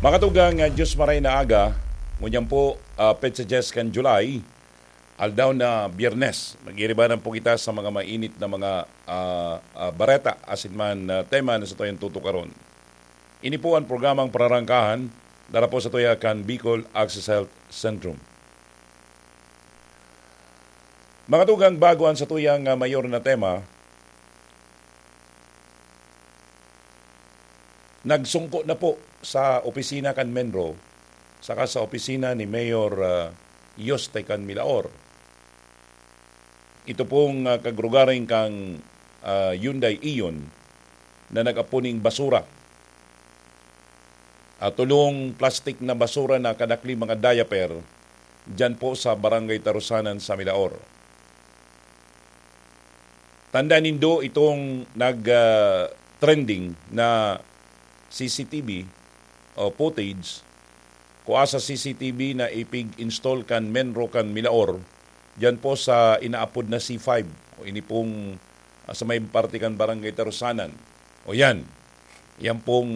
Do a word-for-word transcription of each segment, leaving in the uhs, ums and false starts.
Mga tugang, ah, Diyos maray na aga, ngunyan po, ah, petsa dyes kan July, aldaw na Biyernes. Mag-iribanan po kita sa mga mainit na mga, ah, ah, bareta, asin man, ah, tema na satuyang tutukaron. Ini po ang programang Pararangkahan, dara po satuya kan Bicol Access Health Centrum. Mga tugang, bago ang satuyang, ah, mayor na tema, nagsungko na po sa opisina kan MENRO saka sa opisina ni Mayor, ah, Yoste kan Milaor. Ito pong, ah, kagrugaring kang, ah, Hyundai Ion na nag-apo ning basura. Ah, tulong plastik na basura na kadakli mga diaper diyan po sa Barangay Tarusanan sa Milaor. Tanda nindo itong nag, ah, trending na C C T V o footage, kua sa C C T V na ipig-install kan MENRO kan Milaor, diyan po sa inaapod na C five, o ini pong, ah, sa may parte kan Barangay Tarusanan. O yan, yan pong,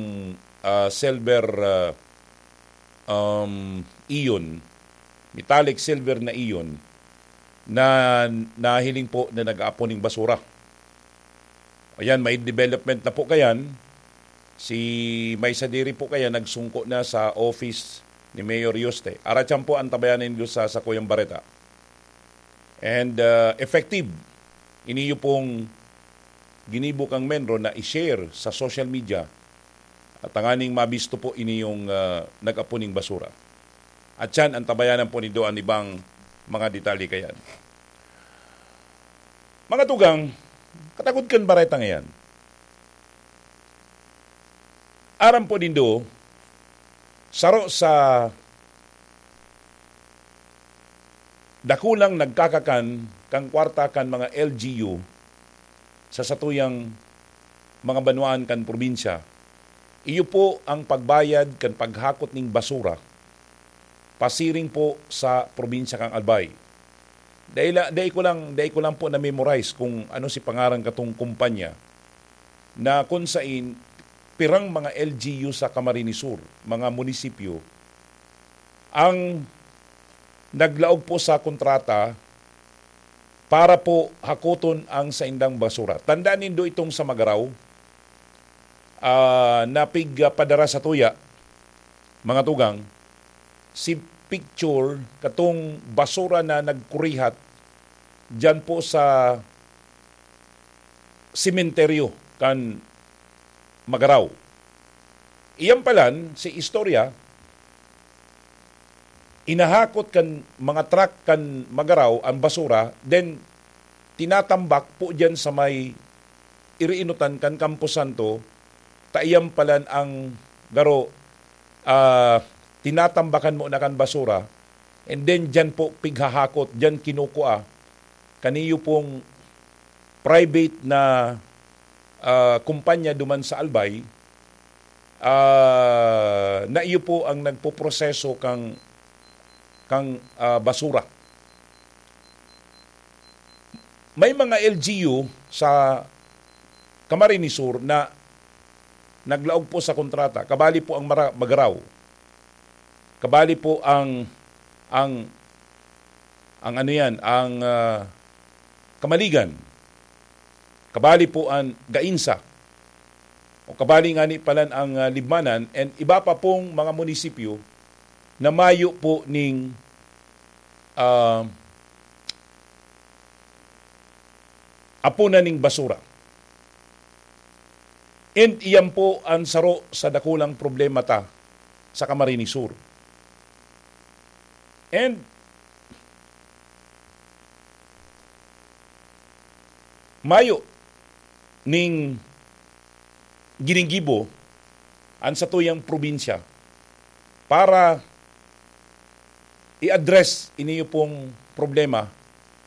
ah, silver, ah, um, Ion, metallic silver na Ion na nahiling po na nag-aapon ning basura. Ayan, may development na po kayan. Si may sadiri po kaya nagsungko na sa office ni Mayor Yoste. Aratyan po ang tabayanan nindo sa sakuyang bareta. And, uh, effective. Iniyo pong ginibo kang MENRO na i-share sa social media at tanganing mabisto po ini yung, uh, nag-apo ning basura. At yan, ang tabayanan po nindo ang ibang mga detalye kayan. Mga tugang, katagod kan bareta ngayan. Aram po nindo, saro sa dakulang nagkakakan kan kwarta kan mga L G U sa satuyang mga banwaan kan probinsya, iyo po ang pagbayad kan paghakot ning basura pasiring po sa probinsya kan Albay. Dai la-, dai ko lang, dai ko lang po na-memorize kung ano si pangaran katong kumpanya na kun sain pirang mga L G U sa Camarines Sur, mga munisipyo, ang naglaog po sa kontrata para po hakoton ang saindang basura. Tandaan nindo itong sa Magaraw, ah, na pig-, ah, padara sa tuya, mga tugang, si picture katong basura na nagkurihat diyan po sa sementeryo kan Magaraw. Iyan palan, si istorya, inahakot kan mga truck kan Magaraw ang basura, then tinatambak po diyan sa may iriinutan kan Campo Santo, ta iyan palan ang garo, ah, tinatambakan mo na kan basura, and then diyan po pighahakot, diyan kinukua, kaniyo pong private na, ah, kumpanya duman sa Albay, ah, na iyo po ang nagpoproseso kang, kang, ah, basura. May mga L G U sa Camarines Sur na naglaog po sa kontrata. Kabali po ang Mara-, Magaraw. Kabali po ang, ang, ang ano yan, ang, ah, Kamaligan. Kabali po ang Gainsa. O kabali ngani palan ang, ah, Libmanan and iba pa pong mga munisipyo na mayo po ning, ah, apunan ning basura. And iyan po ang saro sa dakulang problema ta sa Camarines Sur. And mayo ning ginigibo an satuyang probinsya para i-address iniyo pong problema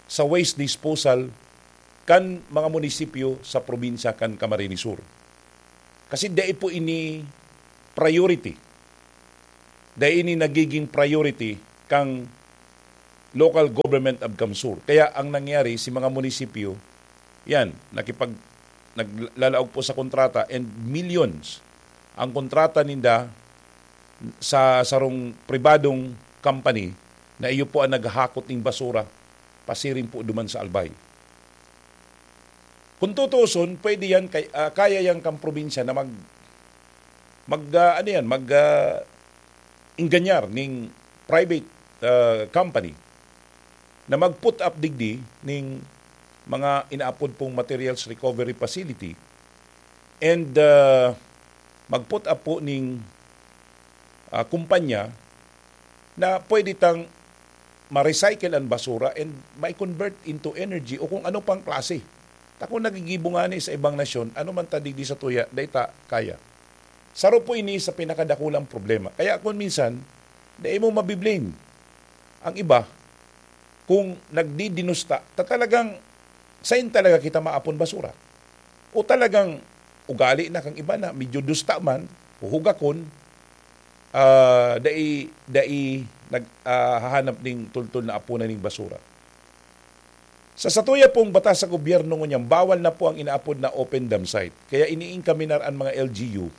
sa waste disposal kan mga munisipyo sa probinsya kan Camarines Sur. Kasi dai po ini priority. Dai ini nagiging priority kang local government of CamSur. Kaya ang nangyari, si mga munisipyo, yan, nakipag-, naglalaog po sa kontrata and millions ang kontrata ninda sa sarong pribadong company na iyo po ang naghahakot ning basura pasiring po duman sa Albay. Kung tutuuson, pwede yan, kay-, ah, kaya yan kang probinsya na mag-, mag-, ah, ano yan, mag, ah, ingganyar ning private, ah, company na mag-put up digdi ning mga inaapod pong materials recovery facility and, ah, mag-put up po ning, ah, kumpanya na pwede tang ma-recycle ang basura and ma-convert into energy o kung ano pang klase. Ta kung nagigibo ngani sa ibang nasyon, ano man ta digdi sa tuya, dai ta kaya. Saro po ini sa pinakadakulang problema. Kaya kung minsan, dai mo mabiblame ang iba kung nagdidinusta, ta talagang sain talaga kita maapon basura. O talagang ugali na kang iba na medyo dusta man, huhugakon, ah, dai, dai nag-, ah, hahanap ning tultol na apunan ning basura. Sa satuya pong batas sa gobyerno ngunyan, bawal na po ang inaapod na open dump site. Kaya iniinkaminar an mga L G U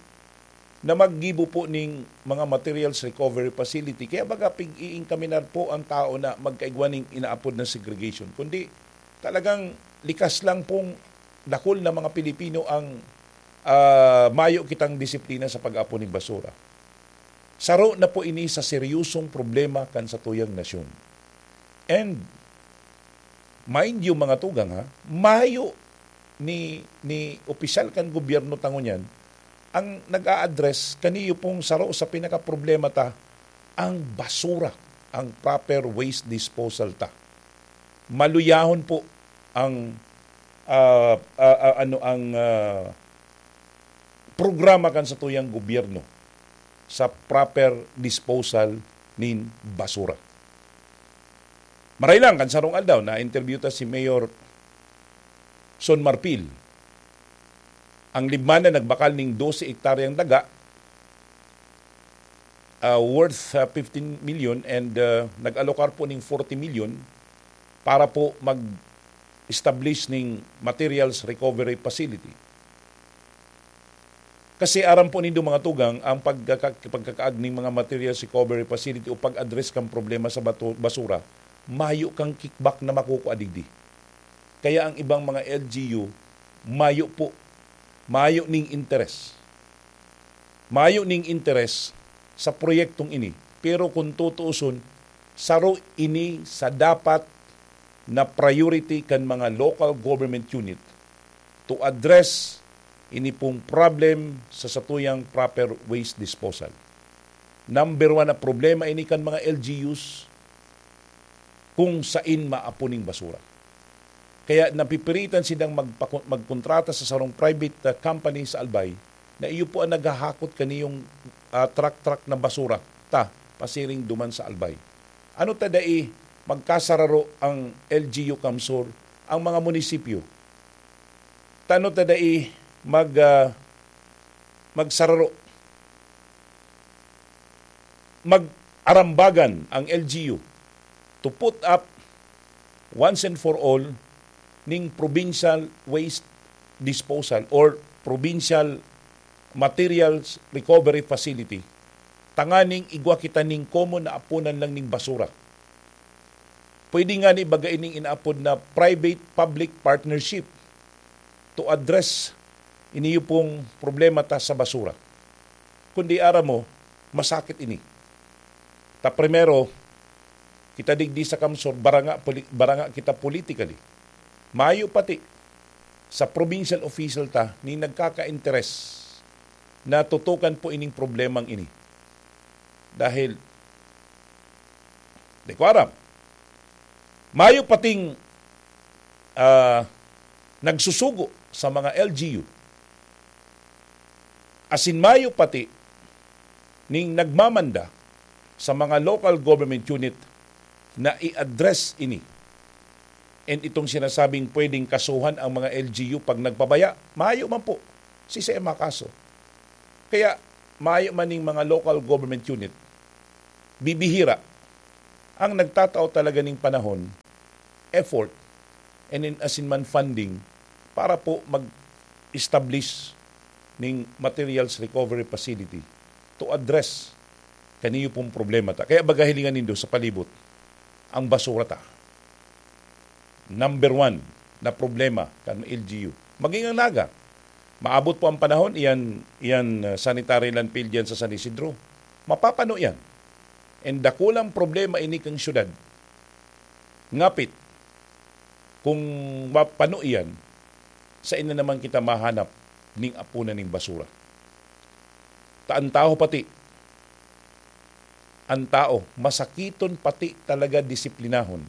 na maggibo po ning mga materials recovery facility. Kaya baga pig-iinkaminar po ang tao na magkaigwa ning inaapod na segregation. Kundi talagang likas lang pong dakul na mga Pilipino ang, ah, mayo kitang disiplina sa pag-apon ning basura. Saro na po ini sa seryosong problema kan satuyang nasyon. And mind you, mga tugang, ha, mayo ni, ni opisyal kan gobyerno ta ngunyan ang nag-a-address kaniyo pong saro sa pinakaproblema ta, ang basura, ang proper waste disposal ta. Maluyahon po ang, ah, ah, ah, ano, ang, ah, programa kan satuyang gobyerno sa proper disposal nin basura. Maray lang, kan sarong aldaw, na-interview ta si Mayor Son Marfil. Ang Libmanan nagbakal ning dose hektaryang daga, ah, worth, ah, fifteen million and, ah, nag-alokar po ning forty million para po mag-establish ning materials recovery facility. Kasi aram po nindo, mga tugang, ang pagkaka-, pagkakaag ning mga materials recovery facility o pag-address kan problema sa bato-, basura, mayo kang kickback na makukua digdi. Kaya ang ibang mga L G U, mayo po, mayo ning interes. Mayo ning interes sa proyektong ini. Pero kung tutuuson, saro ini sa dapat na priority kan mga local government unit to address ini pong problem sa satuyang proper waste disposal. Number one na problema ini kan mga L G Us kung sain maapon ning basura. Kaya napipiritan silang magpaku-, magkontrata sa sarong private, ah, company sa Albay na iyo po ang naghahakot kaniyong, ah, truck-truck na basura ta pasiring duman sa Albay. Ano ta dai magkasararo ang L G U CamSur, ang mga munisipyo? Ta ano ta dai mag, ah, magsararo, mag-arambagan ang L G U to put up once and for all ning provincial waste disposal or provincial materials recovery facility, tanganing igwa kita ning common na apunan lang ning basura. Pwede ngani baga ining inaapod na private-public partnership to address iniyo pong problema ta sa basura. Kundi aram mo, masakit ini. Ta primero, kita digdi sa CamSur, baranga poli-, baranga kita politically. Mayo pati sa provincial official ta ning nagkaka-interes na tutukan po ining problemang ini. Dahil, di ko aram, mayo pating, ah, nagsusugo sa mga L G U. Asin mayo pati ning nagmamanda sa mga local government unit na i-address ini. And itong sinasabing pwedeng kasuhan ang mga L G U pag nagpabaya, mayo man po, sisay makaso. Kaya mayo man ning mga local government unit, bibihira ang nagtatao talaga ning panahon, effort, and in, asin man funding para po mag-establish ning materials recovery facility to address Kaniyo pong problema ta. Kaya baga hilingan nindo sa palibot, ang basura ta. Number one na problema kan L G U. Maging ang Naga. Maabot po ang panahon, iyan, iyan, uh, sanitary landfill diyan sa San Isidro. Mapapano yan. And dakulang problema ini kang syudad. Ngapit, kung mapano iyan, sa ina naman kita mahanap ning apunan ning basura. Ta ang tao pati, ang tao, masakiton pati talaga disiplinahon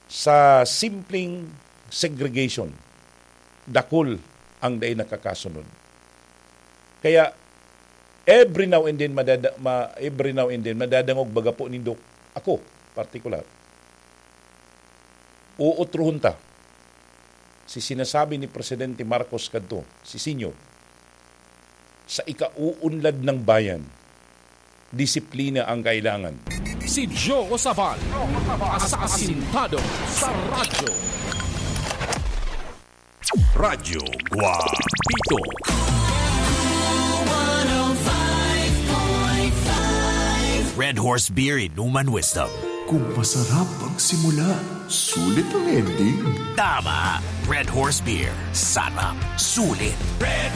sa simpleng segregation. Dakul ang dai nakakasunod. Kaya, every now and then, madada, ma, every now and then, madadangog baga po nindo, ako, partikular, uutrohon ta, si sinasabi ni Presidente Marcos kadto, si Senyor, sa ikauunlad ng bayan, disiplina ang kailangan. Si Joe Sabal, asasintado sa radyo. Radyo Guapito. Red Horse Beer Inuman Wisdom. Kung masarap ang simula, sulit ang ending. Tama. Red Horse Beer. Sarap. Sulit. Red